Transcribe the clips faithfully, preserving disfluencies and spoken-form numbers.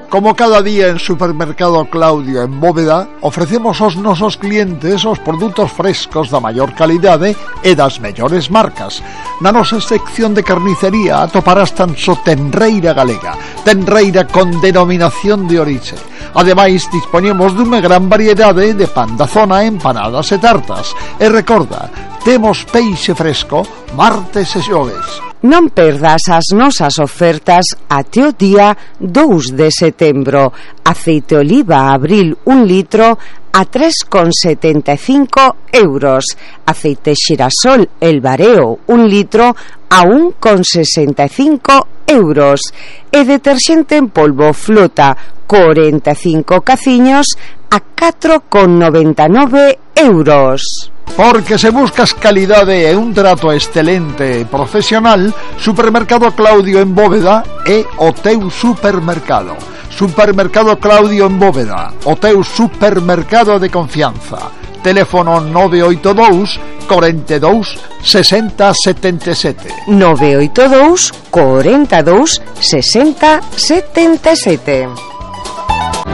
Como cada día en Supermercado Claudio en Bóveda, ofrecemos aos nosos clientes os produtos frescos da maior calidade e das mellores marcas. Na nosa sección de carnicería atoparás tan só tenreira galega, tenreira con denominación de orixe. Ademais, dispoñemos dunha gran variedade de pan da zona, empanadas e tartas. E recorda, temos peixe fresco martes e xoves. Non perdas as nosas ofertas até o día dous de setembro. Aceite oliva Abril un litro a tres con setenta e cinco euros. Aceite xirasol El Bareo un litro a un con sesenta e cinco euros. E deterxente en polvo Flota cuarenta e cinco caciños a catro con noventa e nove euros. Porque se buscas calidade e un trato excelente e profesional, Supermercado Claudio en Bóveda é o teu supermercado. Supermercado Claudio en Bóveda, o teu supermercado de confianza. Teléfono nove oito dous, cuarenta e dous, sesenta, setenta e sete. nove oito dous, cuarenta e dous, sesenta, setenta e sete.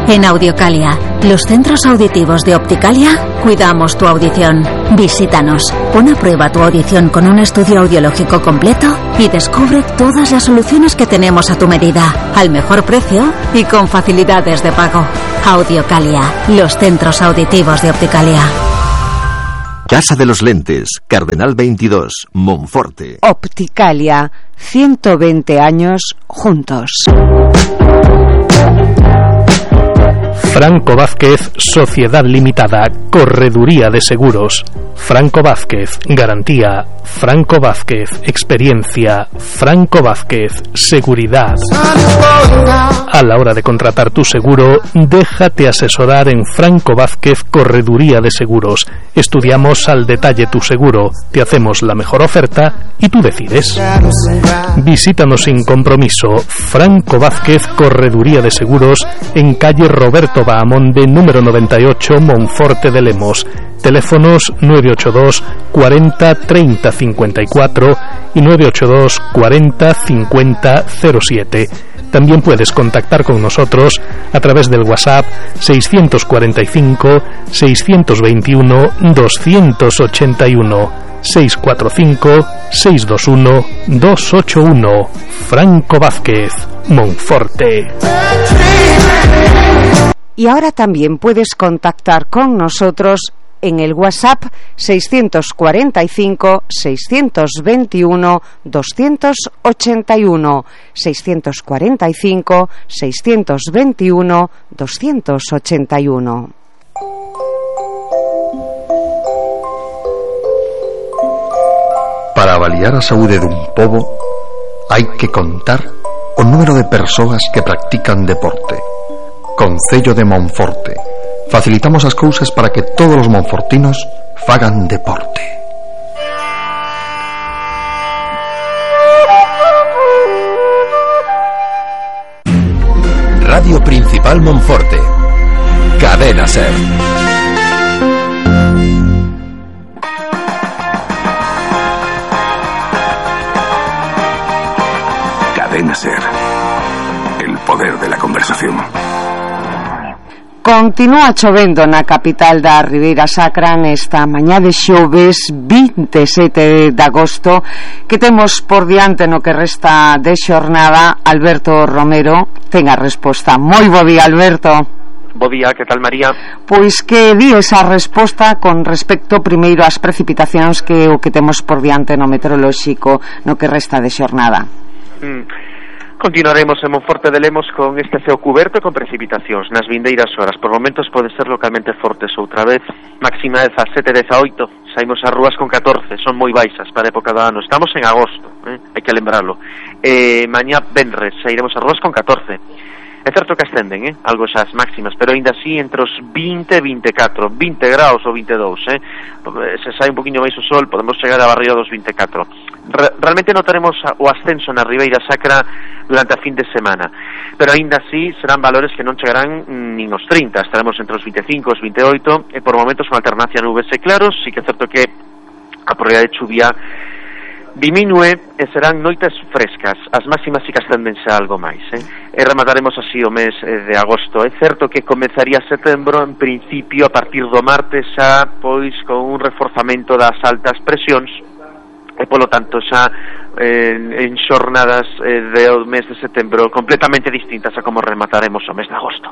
En Audiocalia, los centros auditivos de Opticalia, cuidamos tu audición. Visítanos, pon a prueba tu audición con un estudio audiológico completo y descubre todas las soluciones que tenemos a tu medida, al mejor precio y con facilidades de pago. Audiocalia, los centros auditivos de Opticalia. Casa de los Lentes, Cardenal veintidós, Monforte. Opticalia, ciento veinte años juntos. Franco Vázquez, Sociedad Limitada, Correduría de Seguros. Franco Vázquez, Garantía. Franco Vázquez, Experiencia. Franco Vázquez, Seguridad. A la hora de contratar tu seguro, déjate asesorar en Franco Vázquez, Correduría de Seguros. Estudiamos al detalle tu seguro, te hacemos la mejor oferta y tú decides. Visítanos sin compromiso. Franco Vázquez, Correduría de Seguros, en calle Roberto Bahamonde, número noventa y ocho, Monforte de Lemos. Teléfonos nueve ocho dos, cuarenta, treinta, cincuenta y cuatro y nueve ocho dos, cuarenta, cincuenta, cero siete. También puedes contactar con nosotros a través del WhatsApp seiscientos cuarenta y cinco, seiscientos veintiuno, doscientos ochenta y uno, seiscientos cuarenta y cinco, seiscientos veintiuno, doscientos ochenta y uno. Franco Vázquez, Monforte. Y ahora también puedes contactar con nosotros en el WhatsApp seiscientos cuarenta y cinco, seiscientos veintiuno, doscientos ochenta y uno, seiscientos cuarenta y cinco, seiscientos veintiuno, doscientos ochenta y uno. Para avaliar a saúde dun pobo hai que contar o número de persoas que practican deporte. Concello de Monforte. Facilitamos as cousas para que todos os monfortinos fagan deporte. Radio Principal Monforte. Cadena Ser. Cadena Ser. El poder de la conversación. Continúa chovendo na capital da Ribeira Sacra nesta mañá de xoves vinte e sete de agosto, que temos por diante no que resta de xornada. Alberto Romero ten a resposta. Moi bo día, Alberto. Bo día, que tal, María? Pois que di esa resposta con respecto primeiro ás precipitacións que o que temos por diante no meteorolóxico no que resta de xornada. Mm. Continuaremos en Monforte de Lemos con este ceo cuberto con precipitacións nas vindeiras horas. Por momentos pode ser localmente fortes outra vez. Máxima de dezasete, dezaoito. Saímos ás rúas con catorce. Son moi baixas para a época do ano. Estamos en agosto, eh? hai que lembrarlo. Eh, mañá venres sairemos ás rúas con catorce. É certo que ascenden, eh? algo esas máximas, pero ainda así entre os vinte e vinte e catro, vinte graus ou vinte e dous, eh? se sai un poquinho máis o sol podemos chegar a barriga dos vinte e catro. Re- realmente notaremos o ascenso na Ribeira Sacra durante a fin de semana, pero aínda así serán valores que non chegarán nin os trinta, estaremos entre os vinte e cinco, os vinte e oito, e por momentos con alternancia nubes e claros. Sí que é certo que a probabilidade de chuvia diminúe e serán noites frescas, as máximas si que ascendense a algo máis, eh? E remataremos así o mes eh, de agosto. É certo que comenzaría setembro, en principio, a partir do martes xa, pois, con un reforzamento das altas presións, e polo tanto xa eh, en xornadas eh, do mes de setembro completamente distintas a como remataremos o mes de agosto.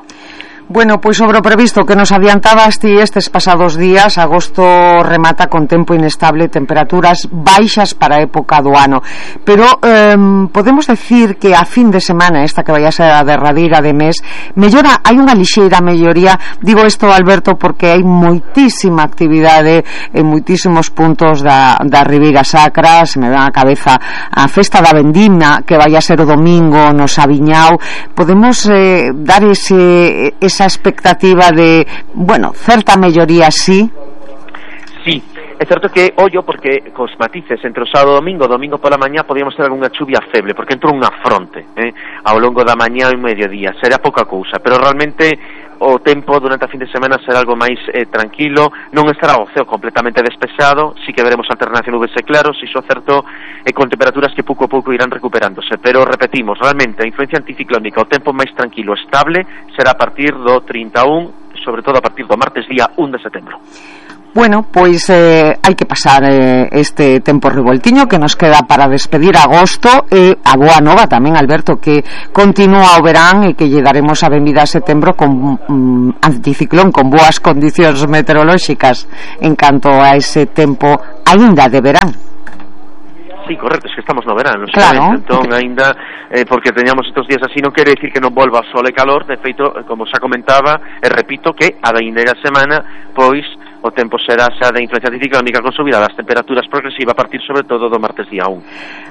Bueno, pois sobre o previsto que nos adiantabas ti estes pasados días, agosto remata con tempo inestable, temperaturas baixas para a época do ano. Pero eh, podemos decir que a fin de semana, esta que vai a ser a derradeira de mes, mellora, hai unha lixeira melloría. Digo isto, Alberto, porque hai moitísima actividade en moitísimos puntos da, da Ribeira Sacra. Se me ven a cabeza a festa da Vendima, que vai a ser o domingo no Sabiñao. Podemos eh, dar ese, ese esa expectativa de, bueno, certa melloría, sí? Sí, é certo que, ollo, porque cos matices entre o sábado e o domingo, domingo pola mañá podíamos ter algunha chuvia feble, porque entrou unha fronte eh, ao longo da mañá e mediodía, será pouca cousa, pero realmente o tempo durante a fin de semana será algo máis eh, tranquilo, non estará o ceo completamente despexado, sí que veremos alternancia nubes e claros, iso certo, e con temperaturas que pouco a pouco irán recuperándose, pero repetimos, realmente a influencia anticiclónica, o tempo máis tranquilo, estable, será a partir do trinta e un, sobre todo a partir do martes día un de setembro. Bueno, pois eh, hai que pasar eh, este tempo revoltiño que nos queda para despedir agosto e a boa nova tamén, Alberto, que continúa o verán e que lle daremos a benvida a setembro con mm, anticiclón, con boas condicións meteorolóxicas en canto a ese tempo aínda de verán. Sí, correcto, es que estamos no verano, claro. Entón, aínda, eh, porque teñamos estos días así, non quere decir que non volva sol e calor, de feito, como xa comentaba, e repito que a vindeira semana, pois, o tempo será xa de influencia anticiclónica con subida das temperaturas progresiva a partir sobre todo do martes día un.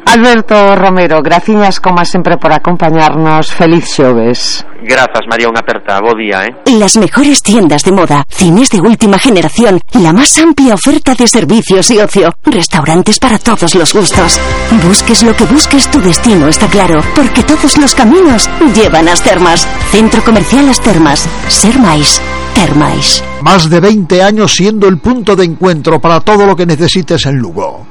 Alberto Romero, graciñas como sempre por acompañarnos, feliz xoves. Grazas, María, unha aperta, bo día, eh. Las mejores tiendas de moda, cines de última generación, la más amplia oferta de servicios y ocio, restaurantes para todos los gustos. Busques lo que busques, tu destino está claro, porque todos los caminos llevan a As Termas. Centro Comercial As Termas. Ser máis. Termais. Más de veinte años siendo el punto de encuentro para todo lo que necesites en Lugo.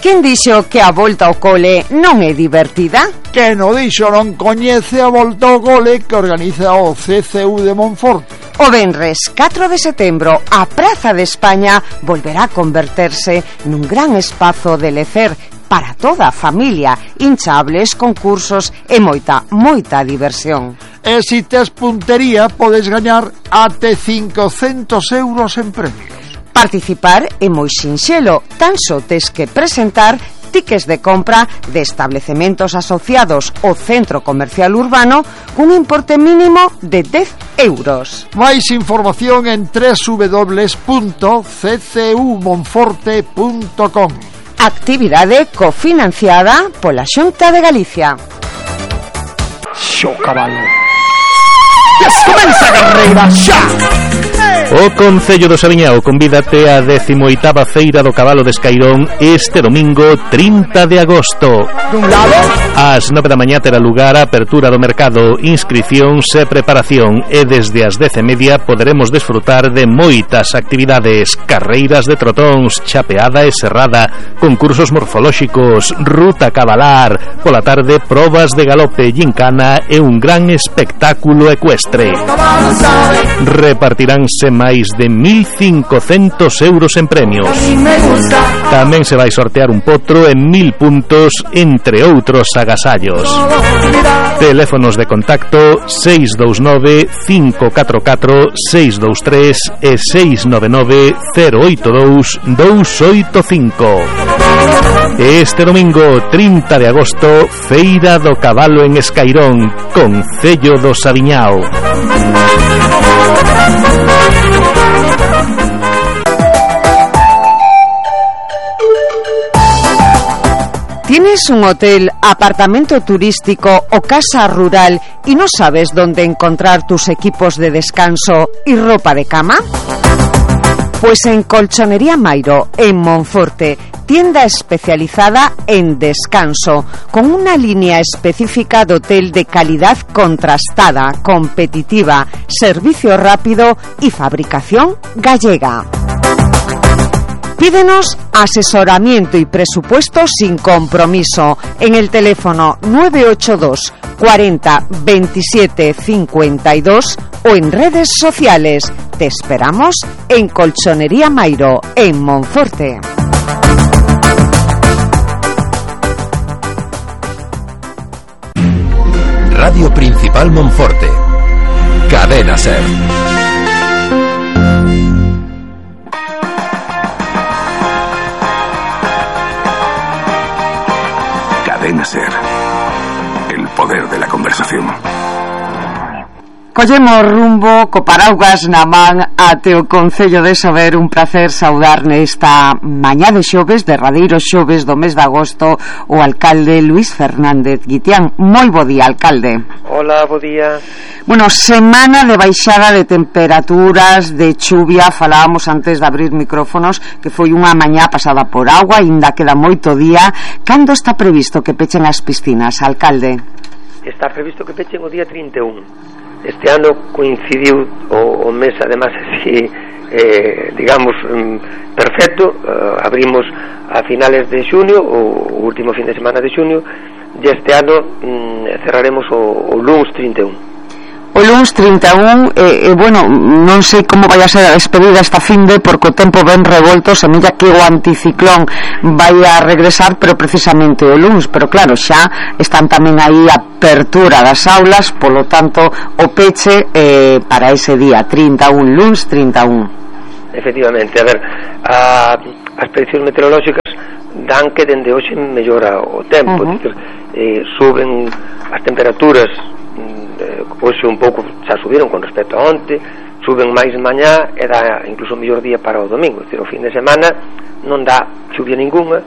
Quen dixo que a volta ao cole non é divertida? Que no dixo non coñece a volta ao cole que organiza o C C U de Monforte. O venres catro de setembro a Praza de España volverá a converterse nun gran espazo de lecer para toda a familia, hinchables, concursos e moita, moita diversión. E se tes puntería podes gañar até cincocentos euros en premios. Participar é moi sinxelo, tan só tes que presentar tickets de compra de establecementos asociados ao centro comercial urbano cun importe mínimo de dez euros. Máis información en doble u doble u doble u punto c c u monforte punto com. Actividade cofinanciada pola Xunta de Galicia. Xo cabalo. Comeza a carreira xa. O Concello do Sabiñao convídate á décimo oitava Feira do Cabalo de Escairón este domingo trinta de agosto. Dun lado, ás nove da mañá terá lugar a apertura do mercado, inscricións e preparación, e desde as dez e media poderemos desfrutar de moitas actividades: carreiras de trotóns, chapeada e serrada, concursos morfolóxicos, ruta cabalar, pola tarde probas de galope, gincana e un gran espectáculo ecuestre. Repartiránse máis de mil cincocentos euros en premios. Tamén se vai sortear un potro en mil puntos, entre outros agasallos. Teléfonos de contacto seis dous nove, cinco catro catro, seis dous tres e seis nove nove, cero oito dous, dous oito cinco. Este domingo trinta de agosto, Feira do Cabalo en Escairón, Concello do Sabiñao. ¿Tienes un hotel, apartamento turístico o casa rural y no sabes dónde encontrar tus equipos de descanso y ropa de cama? Pues en Colchonería Mairo, en Monforte, tienda especializada en descanso, con una línea específica de hotel de calidad contrastada, competitiva, servicio rápido y fabricación gallega. Pídenos asesoramiento y presupuesto sin compromiso en el teléfono nueve ocho dos cuarenta veintisiete cincuenta y dos o en redes sociales. Te esperamos en Colchonería Mairo, en Monforte. Radio Principal Monforte. Cadena Ser. Cadena Ser. El poder de la conversación. Collemos rumbo co paraugas na man até o Concello de Sober. Un placer saudar nesta mañá de xoves, derradeiro xoves do mes de agosto, o alcalde Luís Fernández Guitián. Moi bo día, alcalde. Hola, bo día. Bueno, semana de baixada de temperaturas, de chuvia. Falábamos antes de abrir micrófonos que foi unha mañá pasada por agua, ainda queda moito día. Cando está previsto que pechen as piscinas, alcalde? Está previsto que pechen o día trinta e un. Este ano coincidiu o, o mes, además, así, eh, digamos, mm, perfecto. Uh, abrimos a finales de xunio, o, o último fin de semana de xunio, e este ano mm, cerraremos o, o luns trinta e un. O luns trinta e un, e eh, eh, bueno, non sei como vai a ser a despedida esta finde, porque o tempo ben revolto, semella que o anticiclón vai a regresar, pero precisamente o luns, pero claro, xa están tamén aí a apertura das aulas, polo tanto o peche eh, para ese día trinta e un, luns trinta e un. Efectivamente, a ver, a, as prediccións meteorolóxicas dan que dende hoxe mellora o tempo. Uh-huh. Decir, eh, suben as temperaturas, eh, hoxe un pouco xa subiron con respecto a onte, suben máis mañá e dá incluso o mellor día para o domingo. Decir, o fin de semana non dá chuvia ninguna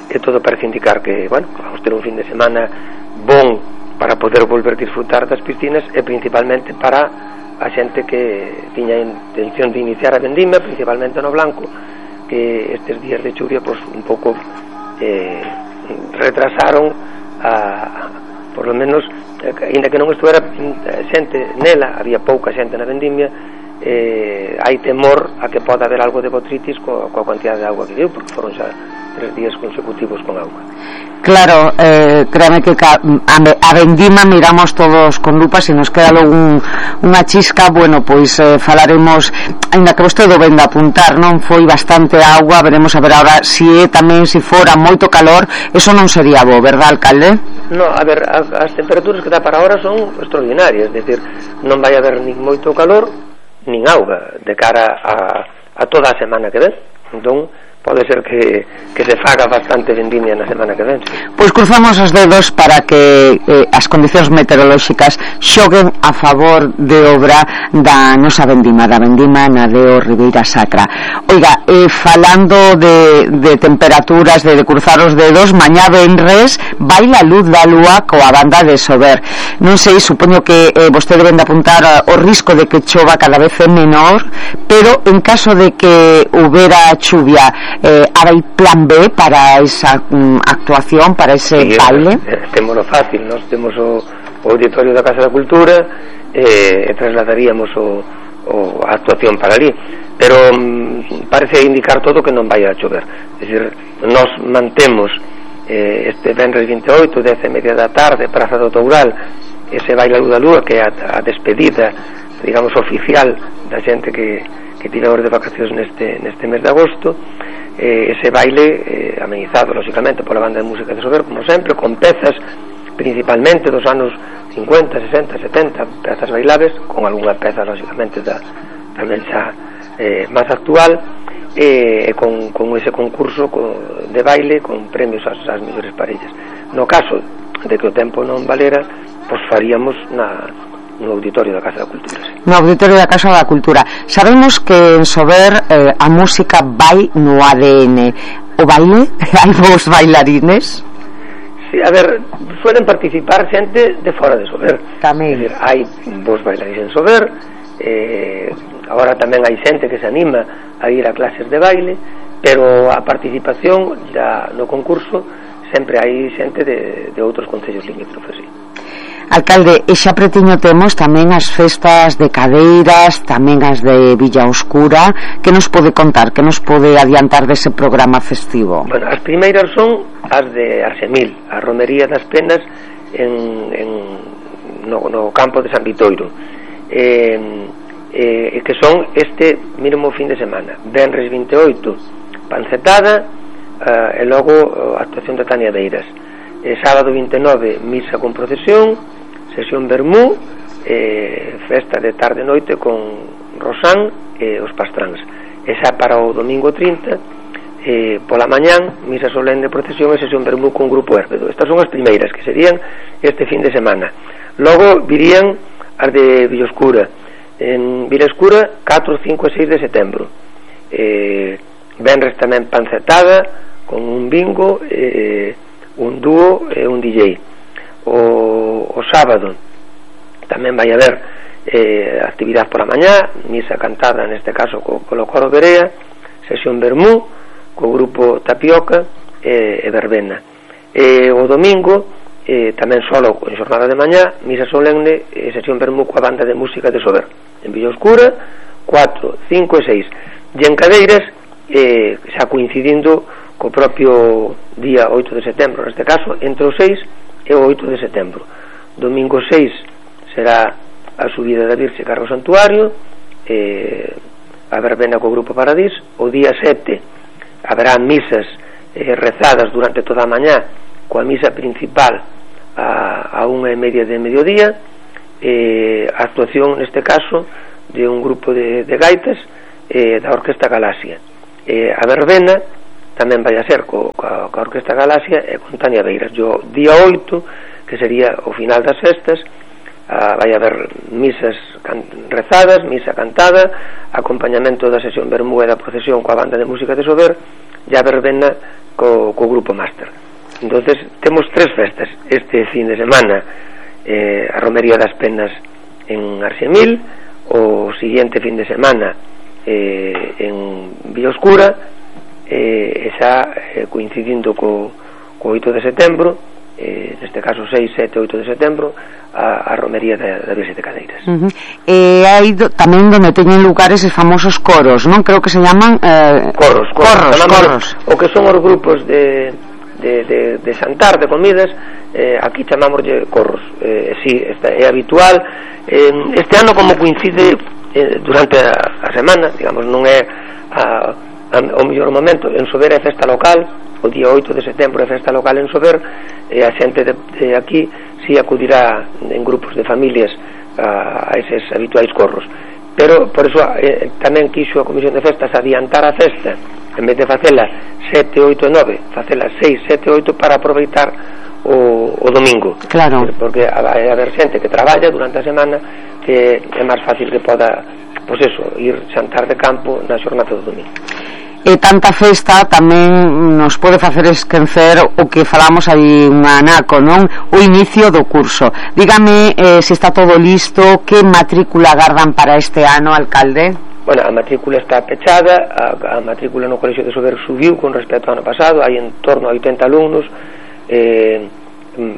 e todo parece indicar que, bueno, vamos ter un fin de semana bon para poder volver a disfrutar das piscinas, e principalmente para a xente que tiña intención de iniciar a vendimia, principalmente no Blanco, que estes días de chuvia pois un pouco eh, retrasaron a, por lo menos, eh, ainda que non estuera xente nela, había pouca xente na vendimia, eh, hai temor a que poda haber algo de botritis coa, coa cantidad de agua que deu, porque foron xa tres días consecutivos con agua. Claro, eh, créame que a, a vendima miramos todos con lupa. Se nos queda logo un, unha chisca, bueno, pois eh, falaremos, ainda que vostede o venda apuntar, non foi bastante agua, veremos a ver agora se é tamén, se fora moito calor, eso non sería bo, verdad, alcalde? No, a ver, as, as temperaturas que dá para ahora son extraordinarias, é dicir, non vai haber nin moito calor nin auga de cara a, a toda a semana que ven. Entón pode ser que, que se faga bastante vendimia na semana que ven. Sí. Pois cruzamos os dedos para que eh, as condicións meteorolóxicas xoguen a favor de obra da nosa vendima, da vendima na de o Ribeira Sacra. Oiga, eh, falando de, de temperaturas, de, de cruzar os dedos, mañá venres vai la luz da lúa coa banda de Sober. Non sei, supoño que eh, vostede vende apuntar o risco de que chova cada vez é menor, pero en caso de que houbera chuvia, Eh, hai plan B para esa um, actuación, para ese sí, baile? Temos o fácil, nós temos o, o auditorio da Casa da Cultura eh, e trasladaríamos o, o, a actuación para ali, pero um, parece indicar todo que non vai a chover. É dicir, nós mantemos eh, este venres vinte e oito, dez e media da tarde, Praza do Toural, ese baile a luz da lúa, que é a, a despedida, digamos, oficial da xente que, que tira horas de vacacións neste, neste mes de agosto. Eh, ese baile eh, amenizado lógicamente pola banda de música de Sober, como sempre, con pezas principalmente dos anos cincuenta, sesenta, setenta, pezas bailables, con algunha peza lógicamente da, tamén xa eh, máis actual, e eh, con, con ese concurso de baile con premios ás, ás mellores parellas. No caso de que o tempo non valera, pois faríamos na no auditorio da Casa da Cultura. Sí. No auditorio da Casa da Cultura. Sabemos que en Sober eh, a música vai no A D N. O baile? Hai vos bailarines? Sí, a ver, suelen participar xente de fora de Sober. Tamén. É dicir, hai vos bailarines en Sober, eh, agora tamén hai xente que se anima a ir a clases de baile, pero a participación ya no concurso sempre hai xente de, de outros concellos limítrofes, sí. Alcalde, e xa pretiño temos tamén as festas de Cadeiras, tamén as de Villa Oscura. Que nos pode contar, que nos pode adiantar dese programa festivo? Bueno, as primeiras son as de Arsemil, a Romería das Penas en, en, no, no campo de San Vitoiro, eh, eh, que son este mesmo fin de semana. Venres vinte e oito, pancetada, eh, e logo a actuación de Tania Beiras. Eh, sábado vinte e nove, misa con procesión, sesión vermú, eh, festa de tarde e noite con Rosán e os pastráns. E xa para o domingo trinta, eh, pola mañán, misa solén de procesión e sesión vermú con grupo Hérbedo. Estas son as primeiras, que serían este fin de semana. Logo virían as de Villoscura. En Villoscura, catro, cinco e seis de setembro. Eh, venres tamén pancetada, con un bingo, eh, un dúo e un D J. O, o sábado tamén vai haber eh, actividade pola mañá, misa cantada neste caso co, co coro Berea, sesión vermú co grupo Tapioca e, e verbena. E o domingo eh, tamén solo en xornada de mañá, misa solemne e sesión vermú coa banda de música de Sober en Villa Oscura, cuatro, cinco e seis. E en Cadeiras, eh, xa coincidindo co propio día oito de setembro, neste caso entre o seis e o oito de setembro. Domingo seis será a subida da Virxe carro santuario, eh, a verbena co grupo Paradís. O día sete haberá misas eh, rezadas durante toda a mañá, coa misa principal a, a unha e media de mediodía, eh, a actuación neste caso de un grupo de, de gaitas eh, da Orquesta Galaxia. Eh, a verbena tamén vai a ser co, co, co Orquesta Galaxia e con Tania Beiras. O día oito, que sería o final das festas, ah, vai haber misas can, rezadas, misa cantada, acompañamento da sesión vermú e da procesión coa banda de música de Sober, e a verbena co, co grupo Máster. Entonces temos tres festas este fin de semana, eh, a Romería das Penas en Arsemil, o siguiente fin de semana eh, en Villa Oscura, e xa eh, coincidindo co, co oito de setembro, eh, neste caso seis, sete, oito de setembro, a, a Romería da, da Virxe de Cadeiras. Uh -huh. E hai do, tamén donde teñen lugar eses famosos coros, non? Creo que se llaman eh... corros, corros, corros, corros. O que son os grupos de, de, de, de xantar, de comidas, eh, aquí chamámoslle corros. Eh, sí, esta é habitual. Eh, este ano, como coincide eh, durante a, a semana, digamos, non é a o mellor momento, en Sober é festa local, o día oito de setembro é festa local en Sober, e a xente de, de aquí si acudirá en grupos de familias a, a eses habituais corros. Pero, por eso, eh, tamén quixo a Comisión de Festas adiantar a festa, en vez de facela sete, oito e nove, facela seis, sete, oito, para aproveitar o, o domingo. Claro. Porque vai haber xente que traballa durante a semana, que é máis fácil que poda, pois eso, ir xantar de campo na xornada do domingo. E tanta festa tamén nos pode facer esquecer o que falamos aí un anaco, non? O inicio do curso. Dígame eh, se está todo listo, que matrícula agardan para este ano, alcalde? Bueno, a matrícula está pechada, a, a matrícula no Colexio de Sober subiu con respecto ao ano pasado, hai en torno a oitenta alumnos, eh,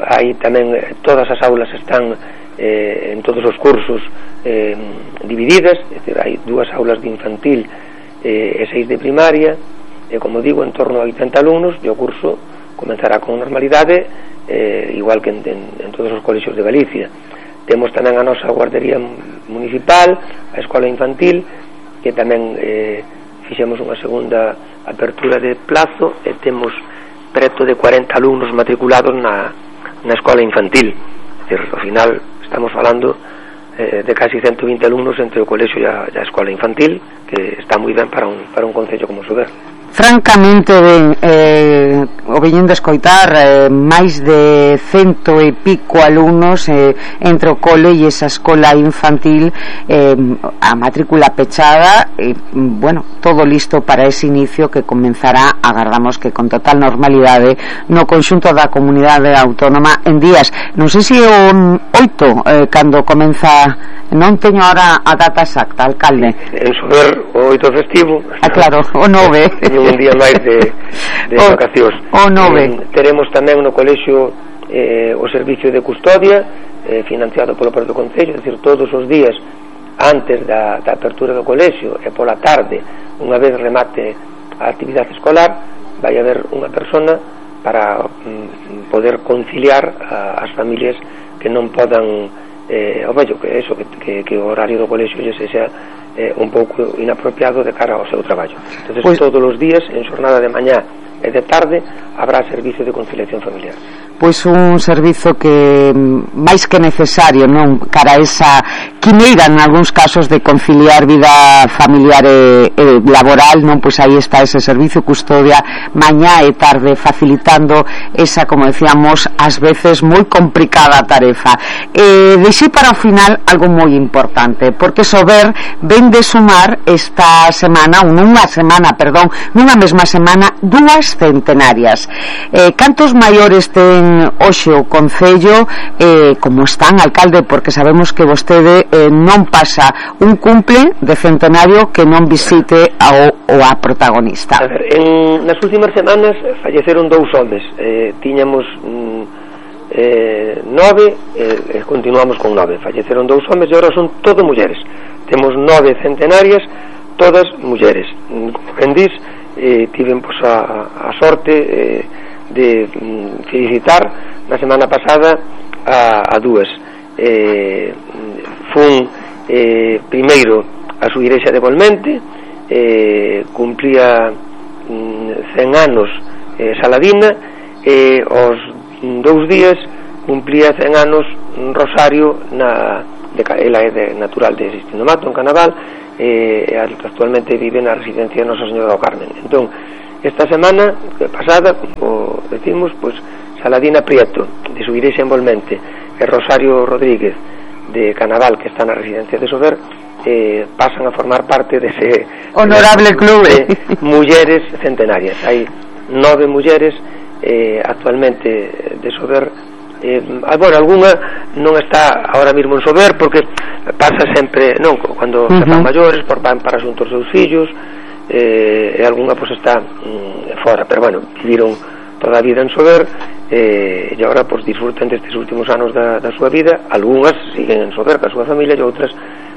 hai tamén, todas as aulas están eh, en todos os cursos eh, divididas, é dicir, hai dúas aulas de infantil e seis de primaria, e como digo, en torno a oitenta alumnos, e o curso comenzará con normalidade, eh, igual que en, en, en todos os colexios de Galicia. Temos tamén a nosa guardería municipal, a escola infantil, que tamén eh, fixemos unha segunda apertura de plazo, e temos preto de cuarenta alumnos matriculados na, na escola infantil. É dicir, ao final estamos falando eh, de casi ciento vinte alumnos entre o colexio e a, e a escola infantil, que está moi ben para un, para un concello como Sober. Francamente ben, eh, o veñen de escoitar, eh, máis de cento e pico alumnos eh, entre o cole e esa escola infantil, eh, a matrícula pechada, e, bueno, todo listo para ese inicio que comenzará, agardamos que con total normalidade, no conxunto da comunidade autónoma en días. Non sei se o oito, eh, cando comeza, non teño ahora a data exacta, alcalde. En Sober o oito festivo. Ah, claro, o nove. Un día máis de, de o, vacacións. O nove. Eh, teremos tamén no colexio eh, o servicio de custodia, eh, financiado polo propio Concello, é dicir, todos os días antes da, da apertura do colexio e pola tarde, unha vez remate a actividade escolar, vai haber unha persona para mm, poder conciliar a, as familias que non podan eh, o vello, que eso, que, que, que o horario do colexio lle sexa eh, un pouco inapropiado de cara ao seu traballo. Entonces, pues, todos os días, en xornada de mañá e de tarde, habrá servicio de conciliación familiar. Pois un servizo que máis que necesario, non, cara a esa quimeira en algúns casos de conciliar vida familiar e, e laboral, non, pois aí está ese servicio custodia mañá e tarde, facilitando esa, como decíamos, ás veces moi complicada tarefa. Eh, deixei para o final algo moi importante, porque Sober ven de sumar esta semana, ou nunha semana, perdón, nunha mesma semana, dúas centenarias. Eh, cantos maiores ten hoxe o Concello, eh, como están, alcalde, porque sabemos que vostede eh, non pasa un cumple de centenario que non visite ao, ou a protagonista. A ver, en, nas últimas semanas falleceron dous homes, eh, tiñamos mm, eh, nove e eh, continuamos con nove, falleceron dous homes e agora son todo mulleres, temos nove centenarias, todas mulleres. Como ben dis, eh, tiven pois, a, a sorte eh, de mm, felicitar na semana pasada a, a dúas. Eh, fun eh, primeiro a súa igrexa de Volmente, eh, cumplía mm, cen anos eh, Saladina, e eh, os dous días cumplía cen anos Rosario, na, de, ela é de, natural de Sistindo Mato, en Canaval, e eh, actualmente vive na residencia de Nosa Señora do Carmen. Entón, esta semana pasada, como decimos, pues Saladina Prieto, de su iglesia en Volmente, e Rosario Rodríguez, de Canaval, que está na residencia de Sober, eh, pasan a formar parte dese honorable de, club de mulleres centenarias. Hai nove mulleres eh, actualmente de Sober. Eh, bueno, alguna non está ahora mismo en Sober, porque pasa sempre, non, cando uh -huh. se fan maiores, por van para xuntos seus fillos, eh, e algunha pues está mm, fora, pero bueno, viviron toda a vida en Sober, eh, e agora pues disfrutan destes últimos anos da, da súa vida. Algunhas siguen en Sober ca súa familia e outras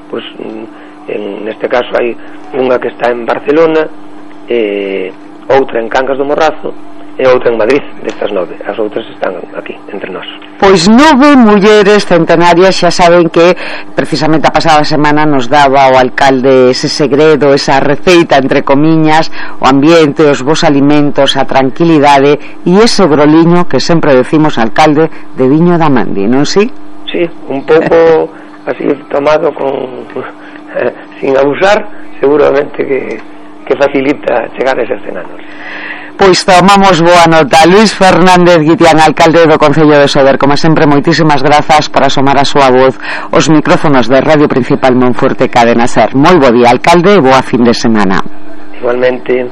pues mm, en neste caso hai unha que está en Barcelona, eh, outra en Cangas do Morrazo e outra en Madrid. Destas nove, as outras están aquí entre nós. Pois nove mulleres centenarias. Xa saben que precisamente a pasada semana nos daba o alcalde ese segredo, esa receita entre comiñas, o ambiente, os bons alimentos, a tranquilidade e ese broliño que sempre decimos, alcalde, de viño da Mandi, non si? Sí, un pouco así tomado con eh, sin abusar, seguramente que, que facilita chegar a eses cen anos. Pois tomamos boa nota. Luís Fernández Guitián, alcalde do Concello de Sober, como sempre, moitísimas grazas por asomar a súa voz os micrófonos de Radio Principal Monforte Cadena Ser. Moi bo día, alcalde, e boa fin de semana. Igualmente.